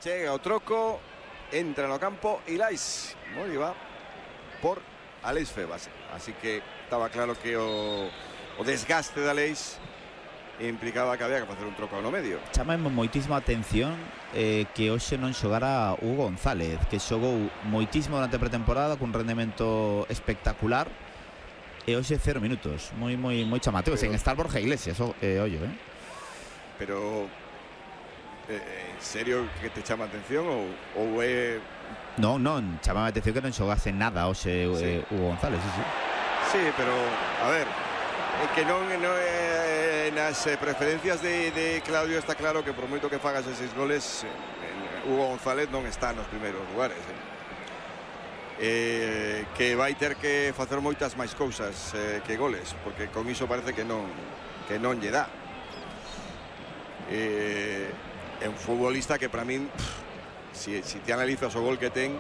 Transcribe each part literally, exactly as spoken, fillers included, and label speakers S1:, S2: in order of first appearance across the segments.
S1: chega o troco, entra no campo Ilais Moriba por Alex Febas, así que estaba claro que o, o desgaste de Alex implicaba que había que facer un troco no medio.
S2: Chama moitísima atención eh, que hoxe non xogara Hugo González, que xogou moitísimo durante a pretemporada cun rendemento espectacular, e hoxe cero minutos, moi moi moi chamativo, sen estar Borja Iglesias, o, eh, ollo, eh.
S1: Pero eh, en serio que te chama atención ou, ou é...
S2: Non, non, chamaba a atención que non xogase nada hoxe sí. eh, Hugo González, sí, sí.
S1: Sí, pero, a ver, é que non, non eh, nas preferencias de, de Claudio está claro que por moito que fagas eses goles, eh, Hugo González non está nos primeiros lugares, eh. Eh, que vai ter que facer moitas máis cousas eh, que goles, porque con iso parece que non que non lle dá. Eh, é un futbolista que para min pff, Si, si te analizas o gol que ten,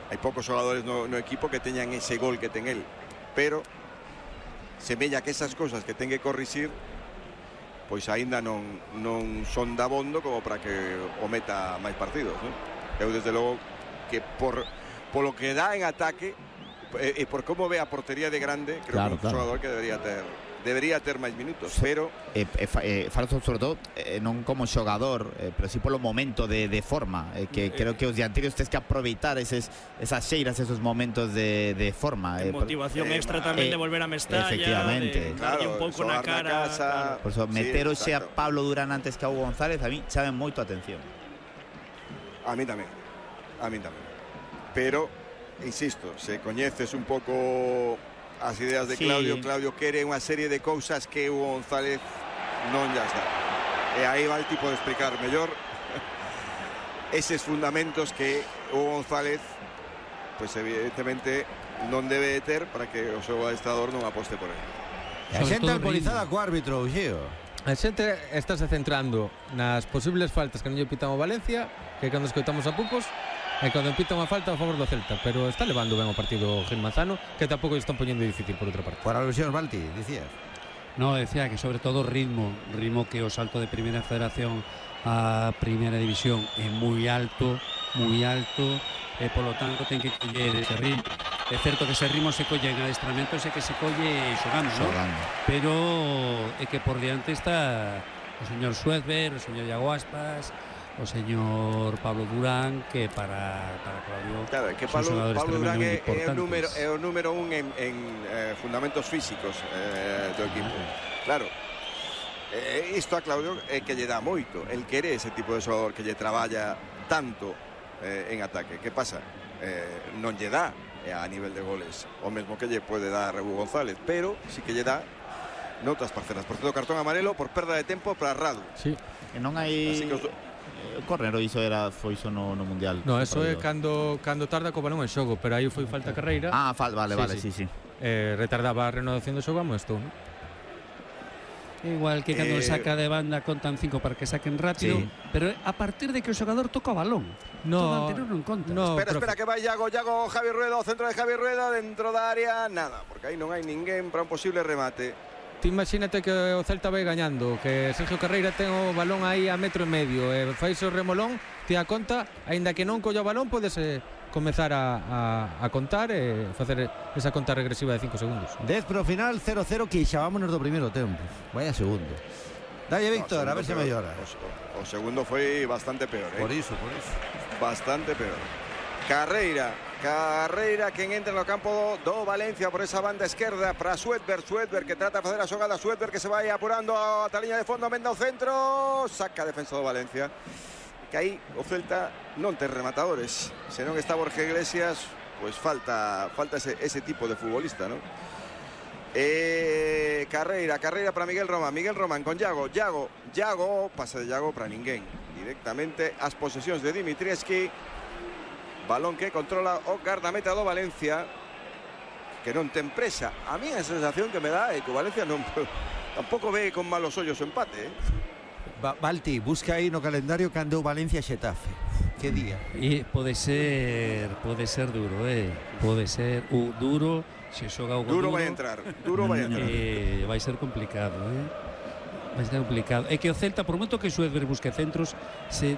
S1: hai poucos xogadores no, no equipo que teñan ese gol que ten el, pero semella que esas cousas que ten que corrixir pois aínda non, non son dabondo como para que o meta máis partidos, non? Eu desde logo que por polo que dá en ataque e, e por como ve a portería de grande, creo claro, que é un claro. xogador que debería ter debería ter máis minutos, pero
S2: eh, eh, eh, falo sobre todo eh, non como xogador, eh, pero si polo momento de, de forma, eh, que eh, creo que os dianteiros tens que aproveitar eses, esas xeiras, esos momentos de, de forma,
S3: eh, motivación por, extra eh, tamén eh, de volver a Mestalla,
S2: efectivamente,
S3: de darlle un pouco na cara,
S1: na casa,
S3: claro.
S2: Por eso, meter hoxe a Pablo Durán antes que a Hugo González a mí chame moito a atención.
S1: A mí tamén, a mí tamén, pero insisto, se coñeces un pouco as ideas de Claudio, sí. Claudio quere unha serie de cousas que Hugo González non llas dá, e aí va el tipo de explicar mellor eses fundamentos que Hugo González pues evidentemente non debe de ter para que o seu adestrador non aposte por ele.
S4: A xente alpolizada co árbitro, Uxío.
S5: A xente estáse centrando nas posibles faltas que non lle pitan o Valencia, que cando escoitamos a Pupos, e cando pita unha falta a favor do Celta, pero está levando ben o partido Gil Manzano, que tampouco están poñendo difícil por outra parte.
S4: Por alusión, Balti, dicías.
S6: No, decía que sobre todo ritmo, ritmo que o salto de Primeira Federación a Primeira División é moi alto, moi alto, e polo tanto ten que coller ese ritmo. É certo que ese ritmo se colle en adestramento, e que se colle xogando, xogando. ¿No? Pero é que por diante está o señor Suezber, o señor Iago Aspas, o señor Pablo Durán, que para, para Claudio,
S1: claro, que Pablo, Pablo Durán é, é, o número, é o número un en, en eh, fundamentos físicos eh, do equipo. Claro, eh, isto a Claudio é que lle dá moito, el quere ese tipo de xogador que lle traballa tanto eh, en ataque. Que pasa? Eh, non lle dá eh, a nivel de goles o mesmo que lle pode dar Hugo González, pero sí que lle dá noutras parcelas. Por tanto, cartón amarelo por perda de tempo para Radu.
S2: Sí, e non hai... Así que os... O córner iso era foi iso no, no mundial.
S5: No, eso é cando cando tarda co balón en xogo, pero aí foi falta carreira.
S2: Ah, fal, vale, sí, vale, sí, sí. sí.
S5: Eh, retardaba a renovación do xogo a Mosto, ¿no?
S6: Igual que cando eh... saca de banda contan cinco para que saquen rápido, sí. Pero a partir de que o xogador toca o balón,
S5: no,
S6: todo anterior non conta.
S1: No, espera, profe. espera que vai Iago, Iago, Javi Rueda, o centro de Javi Rueda dentro da área, nada, porque aí non hai ninguén para un posible remate.
S5: Ti imagínate que o Celta vai gañando, que Sergio Carreira ten o balón aí a metro e medio, e fai o remolón, ti a conta, aínda que non colla o balón, podes eh, comezar a, a, a contar e facer esa conta regresiva de cinco segundos.
S4: dez pro final, cero cero, que xa vámonos do primeiro tempo. Vaya segundo. Dalle, Víctor, no, a ver se mellora.
S1: O, o segundo foi bastante peor, eh?
S4: Por iso, por iso.
S1: Bastante peor. Carreira, Carreira quen entra no campo do Valencia por esa banda esquerda para Suedber, Suedber que trata de facer a xogada, Suedber que se vai apurando a a liña de fondo, menda ao centro, saca a defensa do Valencia, que aí o Celta non ten rematadores, se non está Borja Iglesias, pois falta falta ese, ese tipo de futbolista, ¿no? Eh, Carreira, Carreira para Miguel Román, Miguel Román con Iago, Iago, Iago, pase de Iago para ninguén, directamente as posesións de Dimitrievski. Balón que controla o gardameta do Valencia, que non ten presa. A mí a sensación que me dá é que o Valencia non tampouco ve con malos ollos o empate, eh?
S4: Ba Balti, busca aí no calendario cando o Valencia Xetafe. Que día?
S6: E pode ser, pode ser duro, eh. Pode ser o duro, se xoga o
S1: duro,
S6: duro
S1: vai entrar, duro vai entrar.
S6: Eh, vai ser complicado, eh. Vai ser complicado. É que o Celta, por moito que Suedber busque centros, se